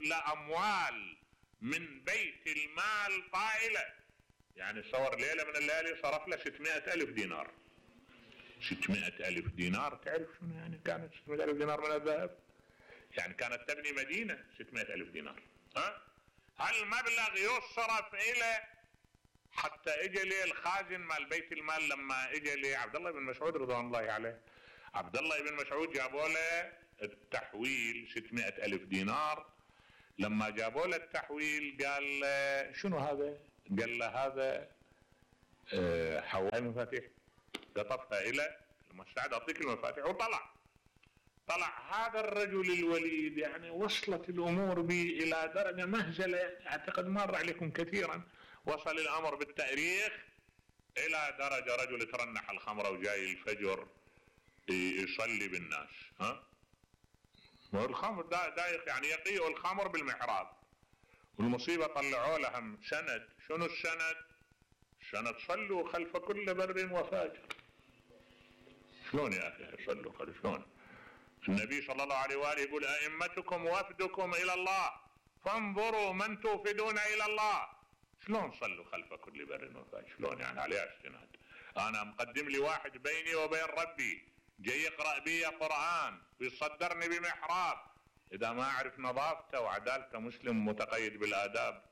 لأموال من بيت المال طائلة. يعني صور ليلة من الليالي صرف له 600,000 دينار. 600,000 دينار تعرف شنو يعني؟ كانت 600,000 دينار من الذهب، يعني كانت تبني مدينة 600,000 دينار. هالمبلغ يصرف إلى حتى اجى لي الخازن مال بيت المال لما اجى لي عبد الله بن مسعود رضوان الله عليه. عبد الله بن مسعود جابوا له التحويل 600,000 دينار. لما جابوا له التحويل قال له شنو هذا؟ قال له هذا حوالي مفاتيح، قطفها إلى المستعد أعطيك المفاتيح وطلع. هذا الرجل الوليد يعني وصلت الأمور به إلى درجة مهزلة، أعتقد مر عليكم كثيرا. وصل الأمر بالتاريخ إلى درجة رجل ترنح الخمرة وجاي الفجر يصلي بالناس. والخمر دايق يعني يقيء الخمر بالمحراب. والمصيبة طلعوا لهم سند. شنو السند؟ سند صلوا خلف كل بر وفاجر. شلون يا أخي صلوا خلف؟ شلون؟ النبي صلى الله عليه وآله يقول أئمتكم وفدكم إلى الله فانظروا من توفدون إلى الله. شلون صلوا خلف كل بر وفاجر؟ شلون يعني؟ عليه استناد. أنا مقدم لي واحد بيني وبين ربي جاي يقرأ بي قرآن ويصدرني بمحراب، إذا ما أعرف نظافته وعدالته مسلم متقيد بالآداب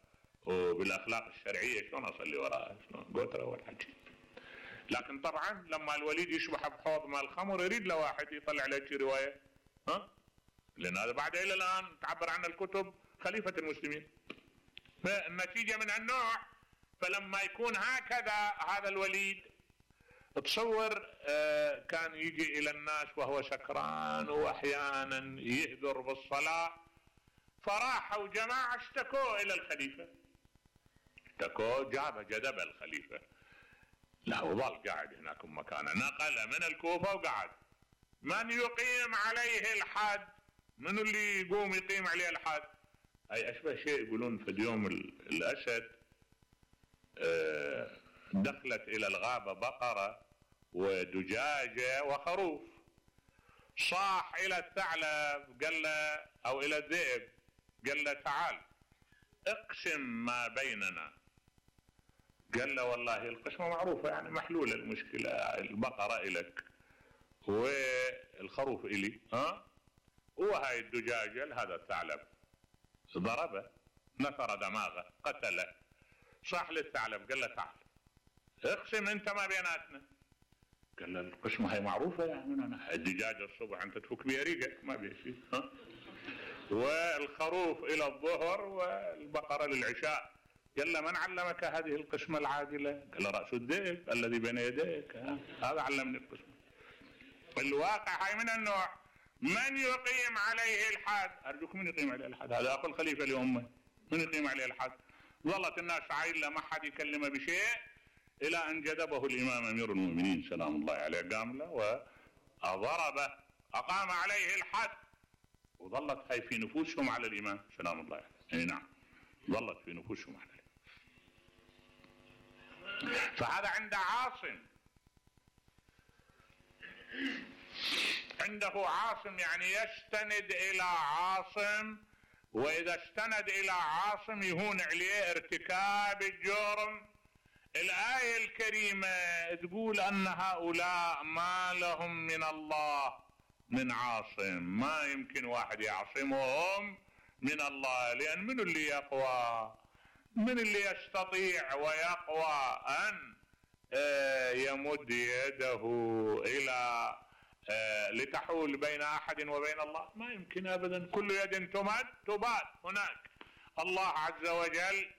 وبالأخلاق الشرعية شلون أصلي وراءه؟ شلون قوتره والحكي. لكن طبعا لما الوليد يشبح بحوض مال الخمر يريد له واحد يطلع له شي رواية، لأن هذا بعد إلى الآن تعبر عن الكتب خليفة المسلمين. فالنتيجة من النوع. فلما يكون هكذا هذا الوليد تصور كان يجي إلى الناس وهو سكران وأحيانا يهدر بالصلاة. فراحوا جماعة اشتكوا إلى الخليفة، اشتكوا جذب الخليفة. لا وظل قاعد هناك مكانه، نقل من الكوفة وقعد. من يقيم عليه الحد؟ من اللي يقوم يقيم عليه الحد؟ أي أشبه شيء يقولون في اليوم الأسد دخلت إلى الغابة بقرة ودجاجة وخروف. صاح إلى الثعلب قال له أو إلى الذئب قال له تعال اقسم ما بيننا. قال له والله القسمة معروفة يعني محلولة المشكلة، البقرة إلك والخروف إلي وهاي الدجاجة هذا الثعلب. ضربه نثر دماغه قتله. صاح للثعلب قال له تعال اقسم انت ما بيناتنا. قال له القسمة هاي معروفة يعني الدجاجة الصبح انت تفك بها ريقك ما بيه شيء، والخروف الى الظهر والبقرة للعشاء. قال له من علمك هذه القسمة العادلة؟ قال له رأس الذئب الذي بين يديك، هذا علمني القسمة. الواقع هاي من النوع. من يقيم عليه الحد؟ أرجوك من يقيم عليه الحد؟ هذا أخو الخليفة لأمه. من يقيم عليه الحد؟ ظلت الناس عايلة ما حد يكلمه بشيء إلى أن جذبه الإمام أمير المؤمنين سلام الله عليه، قام له وضربه أقام عليه الحد. وظلت هاي في نفوسهم على الإمام سلام الله عليه. أي نعم ظلت في نفوسهم على الإمام. فهذا عند عاصم، عنده عاصم يعني يستند إلى عاصم، وإذا استند إلى عاصم يهون عليه ارتكاب الجرم. الآية الكريمة تقول أن هؤلاء ما لهم من الله من عاصم، ما يمكن واحد يعصمهم من الله. لأن من اللي يقوى؟ من اللي يستطيع ويقوى أن يمد يده إلى لتحول بين أحد وبين الله؟ ما يمكن أبدا. كل يد تمد تبات هناك. الله عز وجل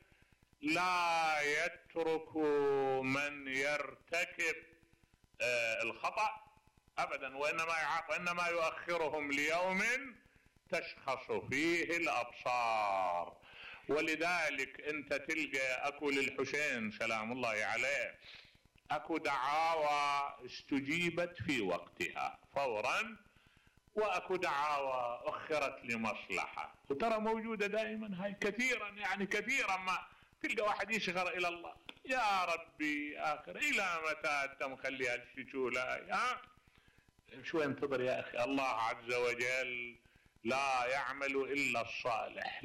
لا يترك من يرتكب الخطأ أبدا، وإنما يؤخرهم ليوم تشخص فيه الأبصار. ولذلك أنت تلقى أكو للحسين سلام الله عليه أكو دعاوى استجيبت في وقتها فورا، وأكو دعاوى أخرت لمصلحة. وترى موجودة دائما هاي كثيرا، يعني كثيرا ما تلقى واحد يشغر إلى الله يا ربي آخر إلى متى أنت مخلي هالشجولة؟ شو انتظر يا أخي. الله عز وجل لا يعمل إلا الصالح.